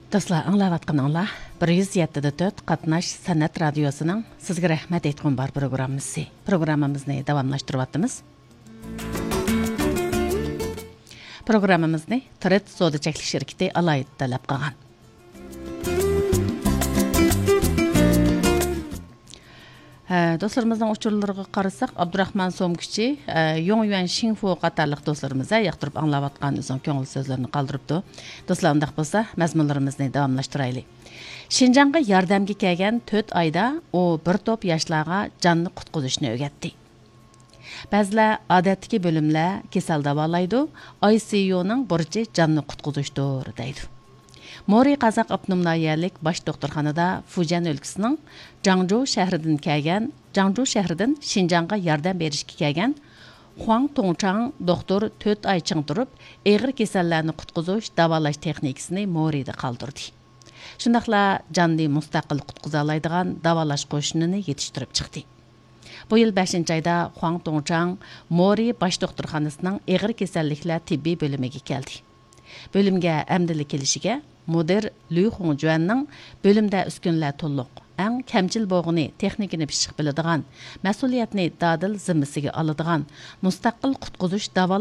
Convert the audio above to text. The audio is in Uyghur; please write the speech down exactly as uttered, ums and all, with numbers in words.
دوستلار، ئاڭلاۋاتقىنىڭلار بىر يۈز يەتتە دە تۆت قاتناش سەنئەت رادىيوسىنىڭ سىزگە رەھمەت ئېيتقۇم بار پروگراممىسى. پروگراممىمىزنى داۋاملاشتۇرۇۋاتىمىز. پروگراممىمىزنى ترېد سودا چەكلىك شىركىتى ئالاھىدە تەلەپ قىلغان. ھە، دوستلىرىمىزنىڭ ئۇچۇرلىرىغا قارىساق، ئابدۇراخمان سومكىچى، ھە، يۇڭ يۈەن شىڭفۇ قاتارلىق دوستلىرىمىز، ھە، ياقتۇرۇپ ئاڭلاۋاتقان ئۆزىنىڭ كۆڭۈل سۆزلىرىنى قالدۇرۇپتۇ. دوستلار، ئۇنداق بولسا، مەزمۇنلىرىمىزنى داۋاملاشتۇرايلى. شىنجاڭغا ياردەمگە كەلگەن تۆت ئايدا ئۇ بىر توپ ياشلارغا جاننى قۇتقۇزۇشنى ئۆگەتتى. بەزىلەر ئادەتتىكى بۆلۈملەر كېسەل داۋالايدۇ، ئاي سى يۇنىڭ بۇرچى جاننى قۇتقۇزۇشتۇر، دەيدۇ. مورى قازاق ئاپتونوم ناھىيەلىك باش دوختۇرخانىدا فۇجيەن ئۆلكىسىنىڭ جاڭجۇ شەھىرىدىن كەلگەن، جاڭجۇ شەھىرىدىن شىنجاڭغا ياردەم بېرىشكە كەلگەن خۇاڭ توڭچاڭ دوختۇر تۆت ئاي چىڭ تۇرۇپ، ئېغىر كېسەللەرنى قۇتقۇزۇش، داۋالاش تېخنىكىسىنى مورىدا قالدۇردى. شۇنداقلا جاننى مۇستەقىل قۇتقۇزالايدىغان داۋالاش قوشۇنىنى يېتىشتۈرۈپ چىقتى. بۇ يىل بەشىنچى ئايدا خۇاڭ توڭچاڭ مورى باش دوختۇرخانىسىنىڭ ئېغىر كېسەللىكلەر تېببىي بۆلۈمىگە كەلدى. بۆلۈمگە ئەمدىلا كېلىشىگە مۇدىر لۈ خۇڭجۈەننىڭ بۆلۈمدە ئۈسكۈنىلەر تولۇق، ئەڭ كەمچىل بولغىنى تېخنىكىنى پىششىق بىلىدىغان، مەسئۇلىيەتنى دادىل زىممىسىگە ئالىدىغان، مۇستەقىل قۇتقۇزۇش داۋالاش